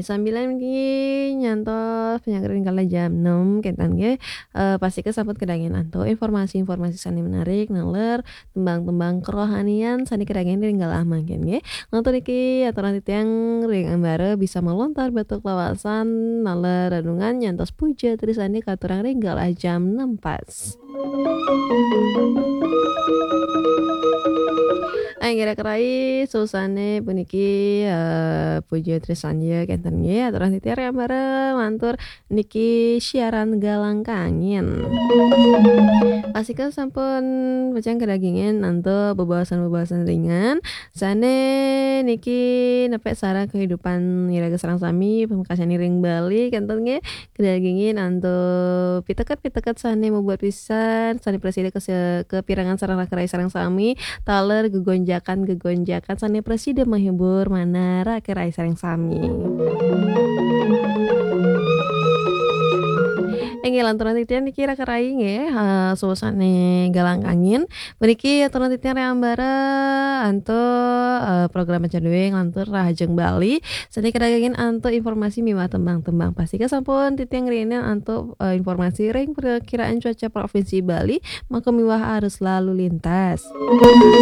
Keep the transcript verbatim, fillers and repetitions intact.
Sambilan niki nyantos panyanggra ring kala jam enam, kénten nggih. Eh, pastika sampun kadagingin antuk informasi-informasi sané menarik, naler tembang-tembang kerohanian sané kadagingin ring galah mangkin nggih. Nglantur niki aturang titiang ring ambara bisa malontar batuk lawasan, naler renungan nyantos puja trisandi katurang ring galah jam enam pas. Inggih raka rai, susané puniki, eh, puja trisandi kénten nggih, aturang titiang ring ambara nglantur niki siaran Galang Kangin. Pastika sampun pacang kadagingin antuk bebaosan-bebaosan ringan sané niki nepek sareng kehidupan iraga sareng sami, pamekasane ring Bali kénten nggih. Kadagingin antuk piteket-piteket sané mabuat pisan, sané prasida kase-, kapirengang sareng raka rai sareng sami, taler gegonjakan-gegonjakan sané prasida mahibur manah raka rai sareng sami. Inggih lanturang titiang niki raka rai nggih, eh, susané Galang Kangin. Puniki aturang titiang ring ambara antuk, eh, program Macan Dué nglantur Rahajeng Bali. Sané kadagingin antuk informasi miwah tembang-tembang. Pastika sampun titiang ngrienin antuk, eh, informasi ring perkiraan cuaca Provinsi Bali, maka miwah arus lalu lintas.